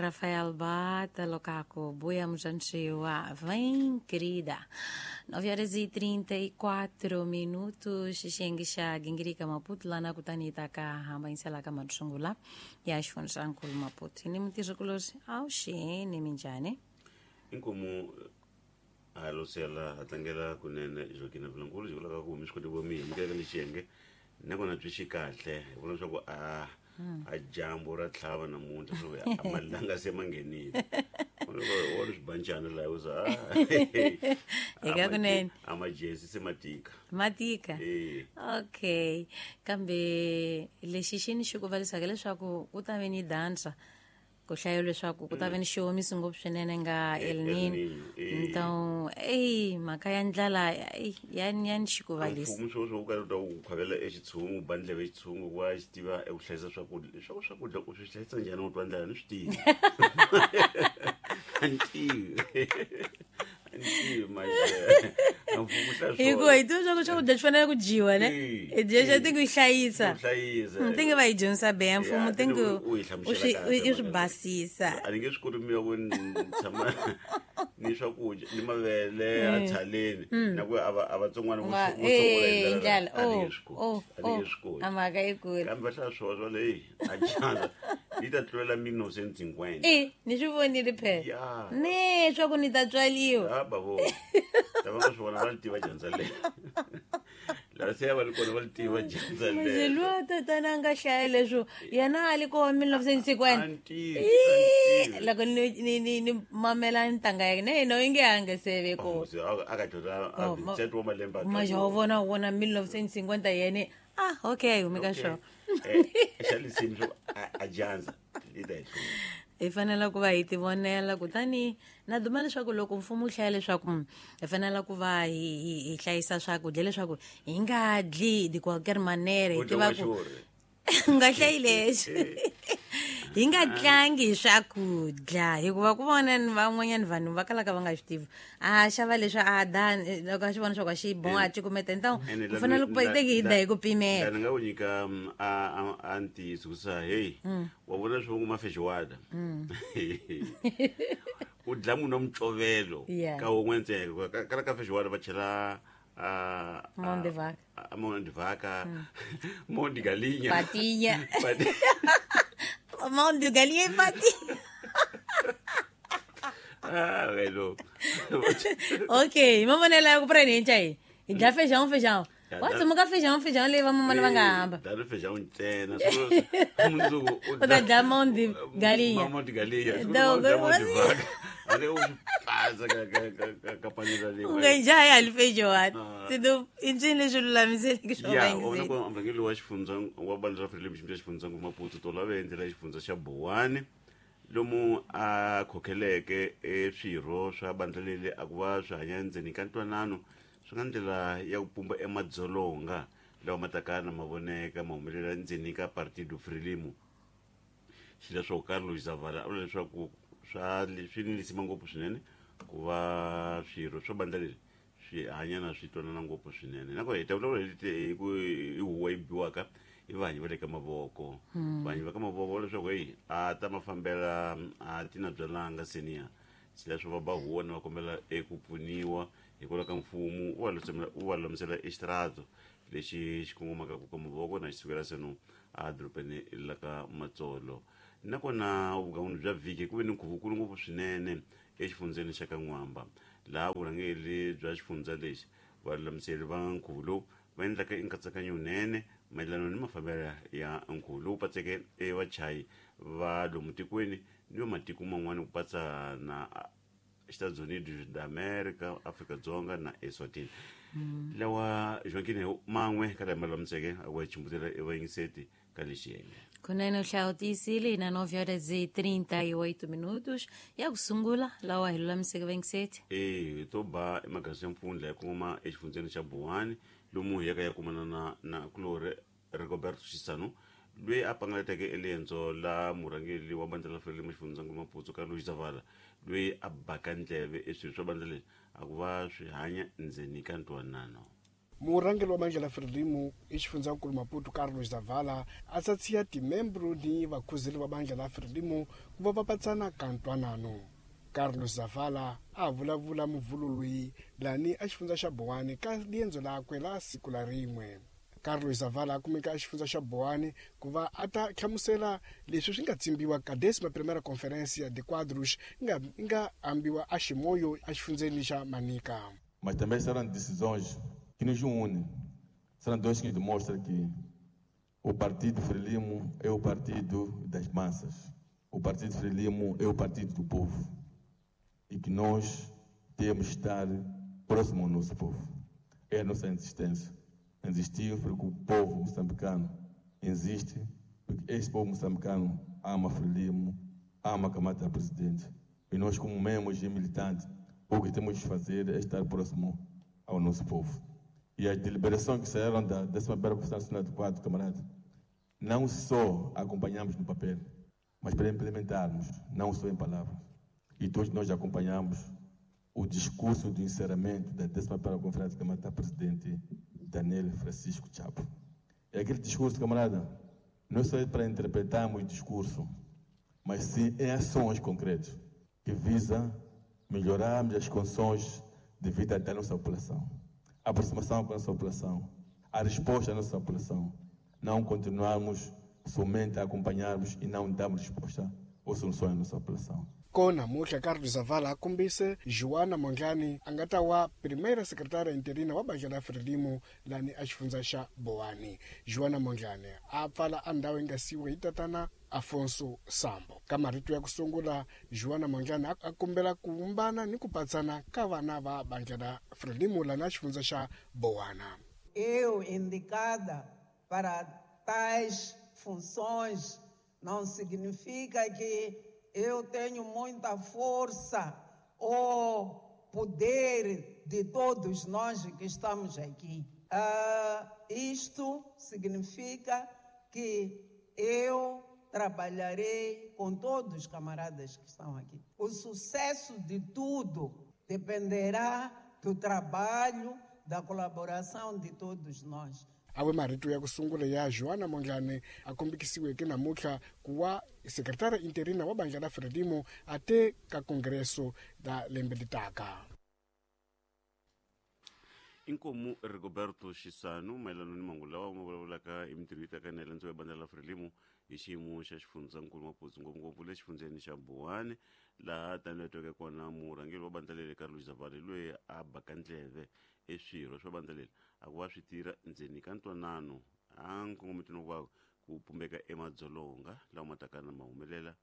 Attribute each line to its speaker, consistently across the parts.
Speaker 1: Rafael Bata, Locaco, Buia Mujanchiwa, vem querida. 9 horas e 34 minutos, xixengi xa gingirika Maputo, lá na kutanita ka hamba insela ka matshungula ya xifundzankulu Maputo. Ni mutirhikulosi awuxeni minjhani?
Speaker 2: Inkomu halosela ha tlangela kunene Joaquina Vilankulu xi vulaka ku mi swi koti vo mi amukeleka ni xiyenge nakona byi xi kahle hi vona leswaku a a dyambu ra tlhava namuntlha swo a malanga se ma nghenile wa ri swibancana laha u za
Speaker 1: Hi ka kunene.
Speaker 2: a majezi se ma tika.
Speaker 1: Matika.
Speaker 2: Eh.
Speaker 1: Okay, kambe lexi xi ni xi ku valisaka leswaku ku ta ve ni dansa ku hlaya leswaku ku ta ve ni xiomisi ngopfu swinene nga El
Speaker 2: El
Speaker 1: Nino.
Speaker 2: Nino, eh.
Speaker 1: Então, eyi mhaka ya ndlala eyi, ya ni xikuvalisa.
Speaker 2: Mfumo swo swo ka ta ku khwavela exitshungu ba ndleve exitshungu wa xi tiva eku hlayisa swakudya leswaku swakudya u swi hlayisa njhani u twa ndlala ni swi tivi a ni tivi a ni tivi manje a mfumo hlaya
Speaker 1: Hikuva hi tiva swa ku swakudya swi fanele ku dyiwa ne
Speaker 2: Eh,
Speaker 1: hi dya xa
Speaker 2: eh.
Speaker 1: ti ku hlayisa.
Speaker 2: Ku hlayisa.
Speaker 1: Ti nge va hi dyondzisa beya mfumo
Speaker 2: Ya,
Speaker 1: ti nge
Speaker 2: u yi hlamusela kahle
Speaker 1: i swi
Speaker 2: mhaka leyi.
Speaker 1: basisa.
Speaker 2: A ni nge swi koti miya ku ni tshama ni swakudya ni mavele a tshaleni na ku a va a vatsongwana vo
Speaker 1: Nga-
Speaker 2: vo sungula hi
Speaker 1: eh,
Speaker 2: ndlela
Speaker 1: ndlala
Speaker 2: a ni
Speaker 1: oh
Speaker 2: nge swi koti
Speaker 1: oh
Speaker 2: a ni
Speaker 1: oh
Speaker 2: nge swi koti
Speaker 1: a mhaka yikulu.
Speaker 2: Kambe va hlaya swona swa leyi a dyandza yi ta tlulela 1950.
Speaker 1: E ni swi vonile phela
Speaker 2: Ya.
Speaker 1: ne swa ku ni ta tswaliwa.
Speaker 2: Ya bavo lava nga swi vona va li tiva dyandza leri lava se va ri kona va li tiva dyandza leri.
Speaker 1: Muzilwa tatana a nga hlaya leswo yena a li koho 1950.
Speaker 2: A ni tivi,
Speaker 1: Ii,
Speaker 2: a ni tivi.
Speaker 1: Loko ni mamela ntanga ya yena yena i nge a nga se ve
Speaker 2: Oh,
Speaker 1: kona.
Speaker 2: se a ka dyondza a
Speaker 1: Oh,
Speaker 2: 27 wa malembe a
Speaker 1: Maja wa vona wona 1950 yene ah okay humi ka swona.
Speaker 2: Xa lisimu swo a dyandza yi ta hi hlula.
Speaker 1: Hi fanele ku va hi tivonela kutani na duma leswaku loko mfumo wu hlaya leswaku hi fanele ku va hi hlayisa swakudya leswaku hi nga dli de qualquer manera hi
Speaker 2: U dya
Speaker 1: tiva ku
Speaker 2: n'waxurhi.
Speaker 1: u nga hlayi leswi hi nga tlangi hi swakudya hikuva ku vona ni van'wanyana vanhu va kalaka va nga swi tivi a xava leswi a da loko a swi vona swa ku a xi boha a cukumeta então
Speaker 2: Ene
Speaker 1: ku fanele ku teki hi da hi ku pimela.
Speaker 2: La ni nga ku nyika a ntiyiso ku sa hey wa vona swi vongo mafexiwada u dla munhu wa mucovelo
Speaker 1: Yeah.
Speaker 2: ka wun'we ntsena kala ka feijoada va chela
Speaker 1: Mão de vaca.
Speaker 2: Mão de vaca, mão de galinha.
Speaker 1: Patinha. Mão de galinha e patinha.
Speaker 2: Ah, velho.
Speaker 1: Okay, mavonelo ya ku purani hi hi hi dya feijão feijão.
Speaker 2: Ya,
Speaker 1: Wa tsumuka feijão feijão leyi vamamana va nga hamba.
Speaker 2: Dalo feijão ntsena. Mundzuku
Speaker 1: U ta dya mão de galinha.
Speaker 2: Mão de galinha.
Speaker 1: Dog.
Speaker 2: Mão de vaca. Ale u swi pasa ka panela leyi.
Speaker 1: U nga dya ya hali feijoada.
Speaker 2: Ah.
Speaker 1: Sido i ncini leswi lulamiseleke swo
Speaker 2: Ya,
Speaker 1: va
Speaker 2: vona
Speaker 1: yingiseli.
Speaker 2: ku murhangeri wa xifundza wa bandla ra Frelimo xi xifundza Maputo tolo a ve endzela xifundza xa Buwani lomu a khokheleke e swirho swa bandla leri a ku va swi hanya endzeni ka ntwanano swi nga ndlela ya ku pumba emadzolonga lawa ma taka na mavoneka ma humelela endzeni ka Partido Frelimo. Xileswo Carlos Zavala a vula leswaku swa swi ni lisima ngopfu swinene ku va swirho swa bandla leri swi hanya na swi twanana ngopfu swinene nakona hi ta vulavula hi ku hi huwa yi biwaka i vahanyi va le ka mavoko vahanyi va ka mavoko leswaku heyi a ta mafambela a ti na byalanga senior xileswo va ba huwa ni va kombela eku pfuniwa hikwalaho ka mfumo u va lulamisela exitirado lexi xi kongomaka ku ka mavoko na xi sukela seno a dorobeni la ka Matsolo nakona vugan'wini bya vhiki ku ve ni nkhuvukulu ngopfu swinene exifundzeni xa ka N'wamba laha vurhangeri bya xifundza lexi valulamiseri va nkhuvo lowu va endlaka nkatsakanyo wunene mayelana ni mafambelo ya nkhuvo lowu patseke evachayi va lomu tikweni ni va matiko man'wana ku patsa na Estados Unidos da America, Afrika Dzonga na Eswatini. Lawa Joaquin man'we ka lama lulamiseke a ku chimbutela evayingiseti ka lexi yenge.
Speaker 1: Kunene u hlawutisile na 9 horas e 38 minutos ya ku sungula lawa hi lulamiseke vayingiseti.
Speaker 2: E to ba emagazini ya mpfundla ya kongoma exifundzeni xa Buwani lomu hi yaka ya kumana na kulori Rigoberto Xisano loyi a pangalateke eliendzo la murhangeri wa bandla ra Frelimo xifundzankulu Maputo Carlos Zavala loyi a baka ndleve eswilo swa bandla leri a ku va swi hanya ndzeni ka ntwanano.
Speaker 3: Murhangeri wa bandla la Frelimo exifundzhankulu Maputo Carlos Zavala a tsatsiya timembro ni vakhuzeli va bandla la Frelimo ku va va patsana ka ntwanano. Carlos Zavala a vulavula muvhulo loyi lani a xifundza xa Boane ka liendzo lakwe la siku la rin'we. Carlos Zavala a kumeka exifundza xa Boane ku va a ta hlamusela leswi swi nga tsimbiwa ka décima primeira conferência de quadros nga ambiwa a Chimoio exifundzeni xa Manica.
Speaker 4: Mas também serão decisões que nos unem. Serão dois que demonstram que o Partido Frelimo é o partido das massas. O Partido Frelimo é o partido do povo. E que nós temos que estar próximo ao nosso povo. É a nossa insistência. Insistir porque o povo moçambicano insiste, porque este povo moçambicano ama Frelimo, ama Kamata Presidente. E nós, como membros e militantes, o que temos de fazer é estar próximo ao nosso povo. E as deliberações que saíram da 11ª Conferência Nacional do Quadro, camarada, não só acompanhamos no papel, mas para implementarmos, não só em palavras. E todos nós acompanhamos o discurso do encerramento da 11ª Conferência de Camada Presidente Daniel Francisco Chapo. É aquele discurso, camarada, não só é para interpretarmos o discurso, mas sim em ações concretas que visam melhorarmos as condições de vida da nossa população, a aproximação com a nossa população, a resposta à nossa população. Não continuarmos somente a acompanharmos e não darmos resposta ou soluções à nossa população.
Speaker 3: Kona muhla Carlos Zavala a kombise Joana Mondlane a nga ta wa primeira secretária interina wa bandla la Frelimo lani a xifundza xa Boane. Joana Mondlane a pfala a ndhawu yi nga siyiwa hi tatana Afonso Sambo. Ka marito ya ku sungula, Joana Mondlane a kombela ku vumbana ni ku patsana ka vana va bandla la Frelimo lani a xifundza xa Boana.
Speaker 5: Eu indicada para tais funções não significa que eu tenho muita força ou poder de todos nós que estamos aqui. Isto significa que eu trabalharei com todos os camaradas que estão aqui. O sucesso de tudo dependerá do trabalho, da colaboração de todos nós.
Speaker 3: Awe marito ya ku sungula ya Joana Mondlane a kombekisiweke namuntlha ku wa sekretara interina wa bandla la Frelimo a te ka kongreso la lembe litaka.
Speaker 2: Inkomu Rigoberto Xisano mayelana ni mahungu lawa ma vulavulaka hi mintirho yi taka na ya bandla la Frelimo hi xiyimo xa xifundzankulu Maputo, ngopfungopfu le xifundzeni xa Boane, laha tanihi tweke kona murhangeri wa bandla leri Carlos Zavala loyi a baka ndleve eswirho swa bandla leri a ku va swi tirha ndzeni ka ntwanano a nkongometweni wa ku pumbeka emadzolonga lawa ma taka na ma humelela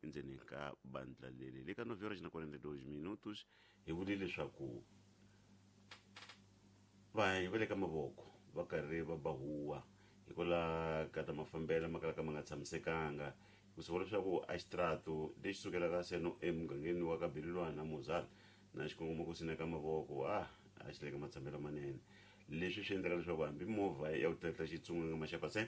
Speaker 2: endzeni ka bandla leri. Le ka 9:42 minutos hi vule leswaku vanhu va le ka mavoko va karhi va bahuwa hikwalaho ka ta mafambelo ma kalaka ma nga tshamisekanga, ku swi vula leswaku a xitrato lexi sukelaka seno emugangeni wa ka Belilwana Mozala na xikongomeko ku sina ka mavoko a xi le ka matshambelo manene. Leswi swi endlaka leswaku hambi movha ya ku tlatla xitsunganga maxapase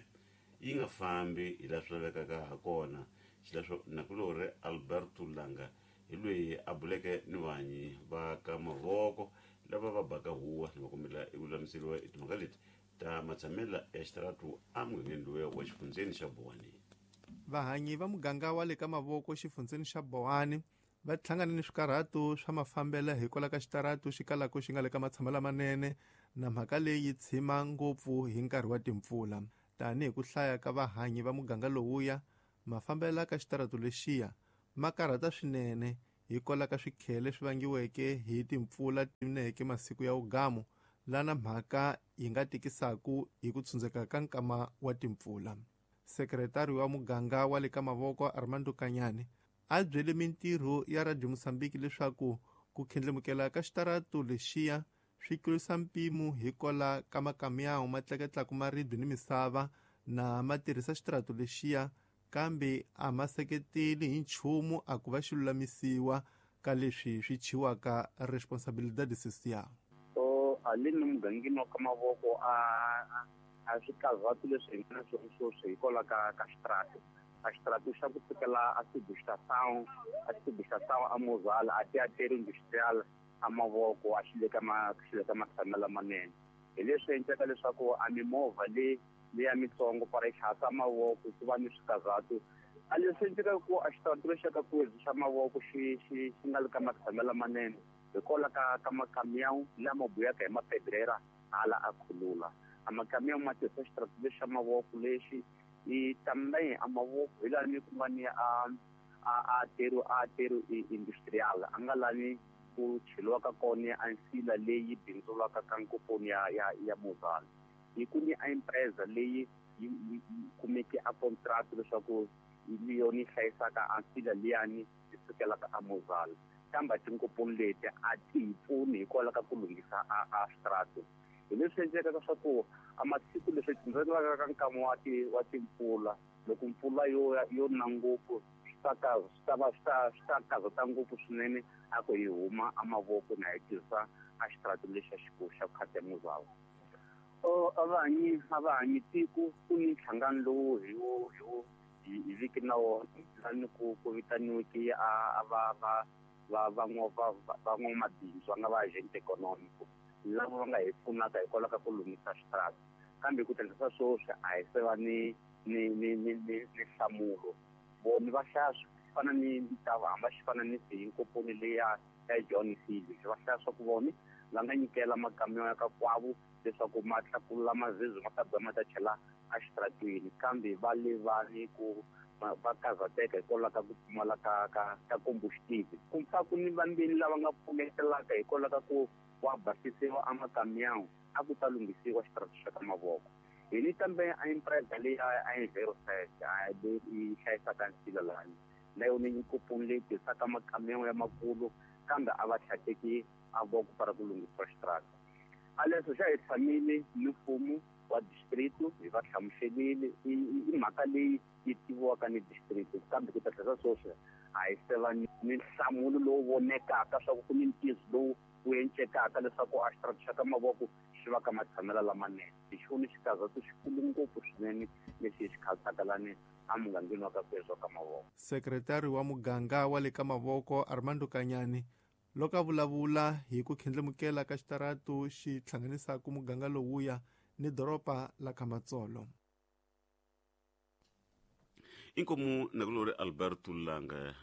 Speaker 2: yi nga fambi hi laha swi lavekaka ha kona. Xileswo nakulorhi Alberto Langa hi loyi a buleke ni vanyi va ka mavoko lava va baka huwa ni va kombela eku lulamiseriwa hi timhaka leti ta matshamela ya xitaratu emugangeni lowuya wa xifundzeni xa Boane.
Speaker 6: Vahanyi va muganga wa le ka mavoko xifundzeni xa Boane va hlangane ni swikarhato swa mafambelo hikwalaho ka xitaratu xi kalaka xi nga le ka matshamelo lamanene, na mhaka leyi tshima ngopfu hi nkarhi wa timpfula. Tanihi ku hlaya ka vahanyi va muganga lowuya, mafambelo ka xitaratu lexiya ma karhata swinene hikwalaho ka swikhele swi vangiweke hi timpfula tineke masiku ya ugamu, lana mhaka yi nga tikisaku hi ku tshundzeka ka nkama wa timpfula. Sekretari wa muganga wa le ka mavoko Armando Kanyane a byele mintirho ya Radio Mozambique leswaku ku khendlemukela ka xitaratu lexiya swi tlurisa mpimo hikwalaho ka makamyawu ma tleketlaka maribye ni misava na ma tirhisa xitaratu lexiya, kambe a ma seketeli hi nchumu a ku va xi lulamisiwa ka leswi swi chiwaka responsabilidade social.
Speaker 7: So alini mugangeni wa ka mavoko a swikarhatu leswi hi nga na swona sweswi hikwalaho ka xitaratu. A xitaratu xa ku sukela a Subestação, a Subestação a Mozala, a Teatro Industrial a mavoko a xi le ka matshamelo lamanene. Hi leswi endlaka leswaku a mimovha leyi leya mitsongo para yi tlhasa mavoko ku va ni swikazatu. A leswi endlekaka ku a xitaratu lexi xa ka Kwezi xa mavoko xi xi xi nga le ka matshamelo lamanene hikwalaho ka makamiyawu lama buyaka hi mapedrera hala a khulula. A makamiyawu ma tirhisa xitaratu lexi xa mavoko lexi i também a mavoko hi lani ku nga ni a aterro industrial a nga lani ku cheliwaka kona a nsila leyi bindzulaka ka nkoponi ya Mozal. Hi ku ni a empresa leyi yi kumeke a contract leswaku hi yona yi hlayisaka a nsila liyani yi sukelaka a Mozal, kambe tinkoponi leti a ti hi pfuni hikwalaho ka ku lunghisa a switaratu. Hi leswi endlekaka swa ku a masiku leswi ndzelaka ka nkama wa timpfula, loko mpfula yo na ngopfu, swi ta va swi ta kazata ngopfu swinene a ku hi huma a mavoko na hi tirhisa a xitaratu lexi xa khati ya Mozal. A va hanyi tiko ku ni nhlangano lowu hi wo hi viki na wona lani ku vitaniweke a va va va van'wamabindzu va nga va agent econômico lava va nga hi pfunaka hikwalaho ka ku lunghisa xitaratu, kambe ku tirhisa sweswi a hi se va ni nhlamulo. Vona va hlaya swi fana ni ta hamba xi fana ni siyinkoponi leya ya John Phillips, va hlaya swa ku vona va nga nyikela makamiyo ya ka kwavo leswaku ma tlakula mazizi ma ta biwa ma ta chela exitaratweni, kambe va le va ni ku va karhateka hikwalaho ka ku pfumala ka combustible. Ku pfa ku ni vambeni lava nga pfumetelaka hikwalaho ka ku wa basisiwa a makamiyawu a ku ta lunghisiwa xitaratu xa ka mavoko. Hi ni kambe a empresa leyi a Enviroset leyi yi hlayisaka nsila lani na yona yi leyi tirhisaka makamiyawu ya makulu, kambe a va tlhateki a voko para ku lunghisiwa xitarata. A leswo xa hi tshamile ni mfumo wa district, hi va hlamuselile i mhaka leyi yi tiviwaka ni district, kambe ku ta tlhela sweswi a hi se va ni nhlamulo lowu vonekaka swa ku ni ntiyiso lowu wu encekaka leswaku a xitarata xa ka mavoko xi va ka matshamelo lamanene. Hi xona xikazatu xikulu ngopfu swinene lexi hi xi khansaka lani emugangeni wa ka Kwezi wa ka mavoko.
Speaker 6: Sekretari wa muganga wa le ka mavoko Armando Kanyani loko a vulavula hi ku khindlimukela ka xitaratu xi hlanganisaka muganga lowuya ni doroba la Kamatsolo.
Speaker 2: Inkomu nakulori Alberto Langa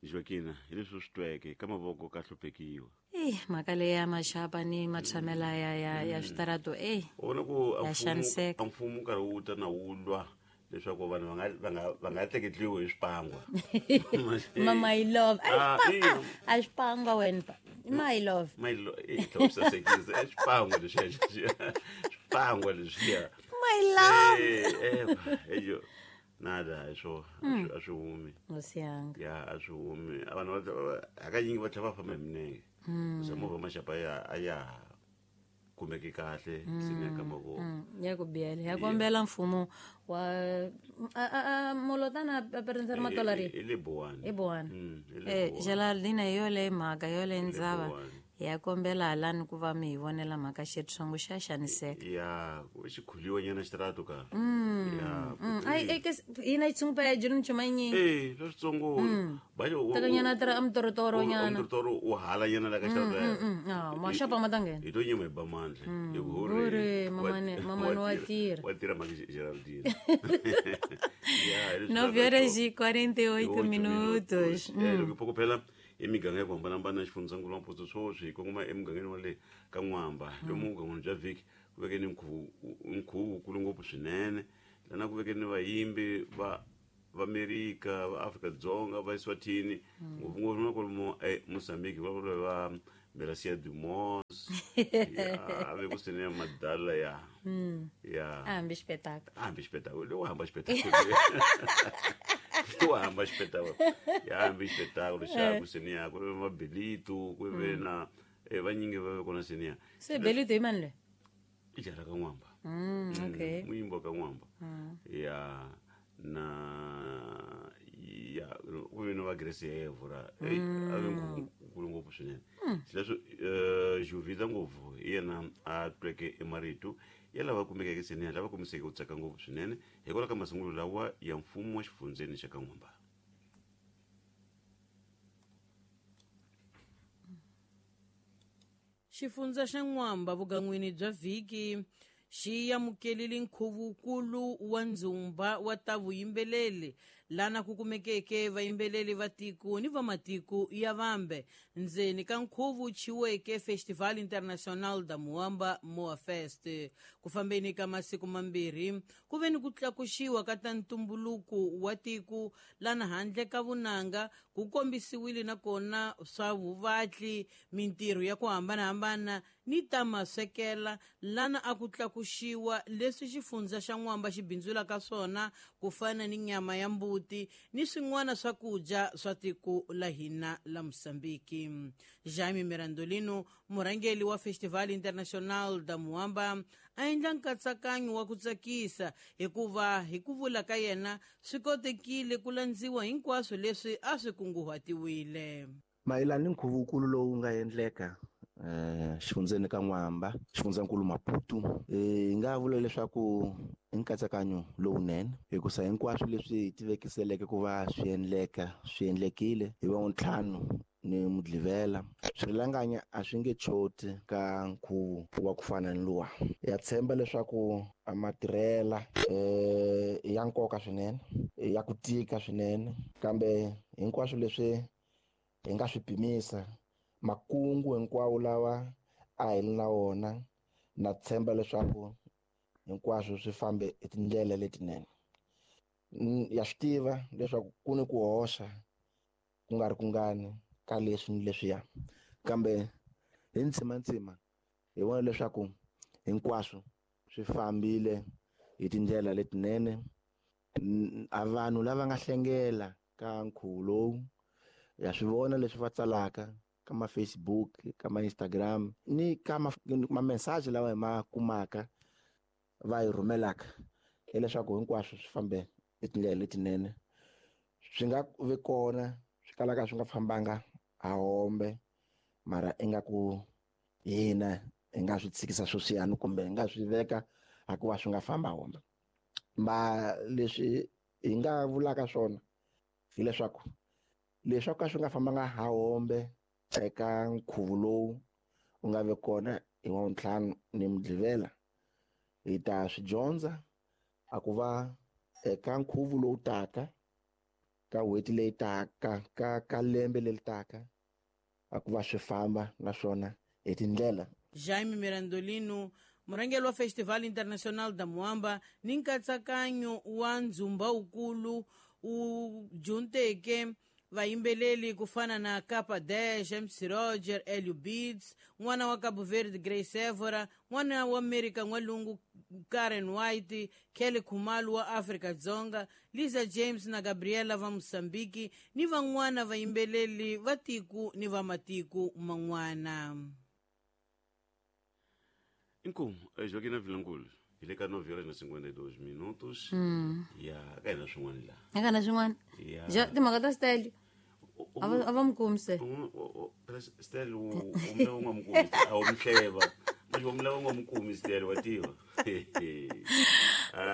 Speaker 2: Joaquina, hi leswi swi tweke ka mavoko ka hluphekiwa.
Speaker 1: Eyi, mhaka leyi ya maxapa ni matshamela ya switarato, eyi.
Speaker 2: U vona ku
Speaker 1: Ya xaniseka.
Speaker 2: A mfumo nkarhi wu ta na wu lwa leswaku vanhu va nga tleketliwi hi swipangwa.
Speaker 1: Ma my love.
Speaker 2: Ah, ina.
Speaker 1: A xipangwa wena pa my love.
Speaker 2: Mayilo i tlhela sasekisa i swipangwa leswiya, swipangwa leswiya.
Speaker 1: My love.
Speaker 2: Eh, eyo nada, hi swo a swi humi.
Speaker 1: Hosi yanga.
Speaker 2: Ya, a swi humi. A vanhu hakanyingi va tlhela va famba hi minenge se movha maxapa ya a ya ha kumeki kahle sini ka mavoko.
Speaker 1: Ya ku biyela ya kombela mfumo wa molotana a pertencer matolari.
Speaker 2: I le Buwani.
Speaker 1: I Buwani.
Speaker 2: I le
Speaker 1: Eh.
Speaker 2: Buwani.
Speaker 1: Geraldine, hi yoleyo mhaka yoleyo ndzava.
Speaker 2: Buwani.
Speaker 1: Ya kombela halani ku va mi hi vonela mhaka xitsongo xa xaniseka.
Speaker 2: Ya, ku xi khuliwa nyana xitarato ka ya.
Speaker 1: Ai ai ke ina itsungu pa jinu chuma nyi.
Speaker 2: Eh, swa switsongo
Speaker 1: Takanyana tra amtorotoro nyana.
Speaker 2: Amtorotoro u hala nyana la ka xitarato.
Speaker 1: Ah, maxapa ma ta nghena.
Speaker 2: Hi to nyima hi ba mandla hi ku
Speaker 1: Hore, mamane wa tirha.
Speaker 2: Wa tirha mhaka Geraldine, ya hi leswi
Speaker 1: 9 horas e 48 minutos.
Speaker 2: Eh, loko hi phokopela emiganga ya ku hambanahambana xifundzankulu wa Maputo sweswi hi kongoma emugangeni wa le ka N'wamba, lomu mugangeni bya vhiki ku veke ni nkhuvo wukulu ngopfu swinene lana ku veke ni vayimbi va Vaamerika, va Afrika-Dzonga, va Eswatini, ngopfungopfu na kwalomu eMozambique, va vula va Melasia Dumos ya a ve ku sene madala ya.
Speaker 1: Hambi espetáculo.
Speaker 2: Hambi xipetakulo lowu, hamba xipetakulo lowu, hamba xipetakulo ya, hambi xipetakulo xa ku seniya ku ve mabelitu ku ve na vanyingi va ve kona seniya.
Speaker 1: Se Belito i mani loyi?
Speaker 2: I jara ka N'wamba.
Speaker 1: Okay.
Speaker 2: Muyimbi wa ka N'wamba ya na ya ku ve na va Grace Evora. Ey, a ve nkulu ngopfu swinene xileswo. Juvita ngopfu hi yena a tweke emarito ya lava kumekeke seniya lava kombiseke ku tsaka ngopfu swinene hikwalaho ka masungulo lawa ya mfumo wa xifundzeni xa ka N'wamba.
Speaker 8: Xifundza xa N'wamba vugan'wini bya vhiki xi amukelile nkhuvukulu wa ndzumba wa ta vuyimbeleri lana ku kumekeke vayimbeleli va tiko ni va matiko ya vambe ndzeni ka nkhuvo chiweke Festival Internacional da Muamba Moa Fest. Ku fambeni ka masiku mambirhi ku ve ni ku tlakuxiwa ka ta ntumbuluko wa tiko lana handle ka vunanga ku kombisiwile nakona swa vuvatli, mintirho ya ku hambanahambana ni ta maswekela lana a ku tlakuxiwa leswi xifundza xa N'wamba xi bindzulaka swona ku fana ni nyama ya mbuti ni swin'wana swakudya swa tiko la hina la Mosambiki. Jaime Mirandolino, murhangeri wa Festival Internacional da Muamba, a endla nkatsakanyo wa ku tsakisa hikuva hi ku vula ka yena swi kotekile ku landziwa hinkwaswo leswi a swi kunguhatiwile.
Speaker 9: Mayelana ni nkhuvukulu lowu nga endleka xifundzeni ka N'wamba, xifundzankulu Maputo, hi nga vula leswaku i nkatsakanyo lowunene hikusa hinkwaswo leswi hi tivekiseleke ku va swi endleka swi endlekile hi va ntlhanu ni Mudlivela. Swirhalanganya a swi nge choti ka nkhuvo wa ku fana ni luwa. Ya tshemba leswaku a matirhela ya nkoka swinene, ya ku tika swinene, kambe hinkwaswo leswi hi nga swi pimisa, makungu hinkwawo lawa a hi ri na wona, na tshemba leswaku hinkwaswo swi fambe hi tindlela letinene. Ya swi tiva leswaku ku ni ku hoxa ku nga ri kungani ka leswi ni leswiya, kambe hi ntsimantsima hi vona leswaku hinkwaswo swi fambile hi tindlela letinene. A vanhu lava nga hlengela ka nkhuvo lowu ya swi vona leswi va tsalaka ka ma Facebook, ka ma Instagram ni ka ma message lawa hi ma kumaka va hi rhumelaka, hileswaku hinkwaswo swi fambe hi tindlela letinene. Swi nga vi kona swi kalaka swi nga fambanga a hombe, mara ingaku hina hi nga swi tshikisa sweswiyani kumbe hi nga swi veka hikuva swi nga famba hombe. Ma leswi hi nga vulaka swona hileswaku leswi ka swi nga fambanga ha hombe eka nkhuvo lowu u nga vi kona hi wa ntlhanu ni Mudlivela, hi ta swi dyondza a ku va eka nkhuvo lowu taka, ka n'hweti leyi taka, ka lembe leri taka, a ku va swi famba naswona hi tindlela.
Speaker 8: Jaime Mirandolino, murhangeri wa Festival Internacional da Muamba ni nkatsakanyo wa ndzumba wukulu wu junteke vayimbeleli ku fana na Capa Dash, MC Roger, Elio Beats, n'wana wa Cabo Verde Grace Evora, n'wana wa America N'walungu Karen White, Kelly Khumalo wa Afrika Dzonga, Lisa James na Gabriela va Mosambiki ni van'wana vayimbeleli va tiko ni va matiko man'wana.
Speaker 2: Inkomu, Joaquina Vilangulo, hi le ka 9 horas na 52 minutos. Ya ka hina swin'wana laha.
Speaker 1: Eka na swin'wana.
Speaker 2: Ya.
Speaker 1: Timhaka ta Stelio. A va mi kumi se.
Speaker 2: Stel u mula u nga mi kumi, a wu mi hleva. Manje u mula u nga mi kumi Stel, wa tiva.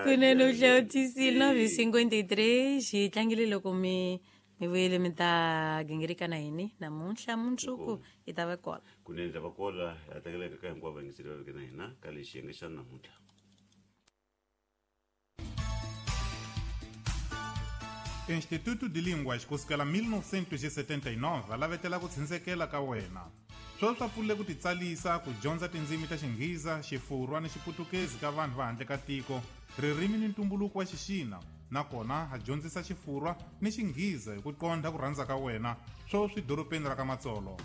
Speaker 1: Kunene u hlawutisile 9:53 hi tlangile loko mi vuyele mi ta gingirika na yini namuntlha mundzuku hi ta va kona.
Speaker 2: Kunene ta va kona, ha tlangeleka ka hinkwavo vayingiseri va veke na hina ka lexi xiyenge xa namuntlha.
Speaker 10: Instituto de Línguas kusukela 1979 va lavetela ku tshindzekela ka wena. Sweswi swa pfulile ku titsalisa ku dyondza tindzimi ta Xinghiza, Xifurwa ni Xiputukezi ka vanhu va handle ka tiko, ririmi ni ntumbuluko wa Xixina, nakona ha dyondzisa Xifurwa ni Xinghiza hi ku qondha ku rhandza ka wena, sweswi dorobeni ra ka Matsolo.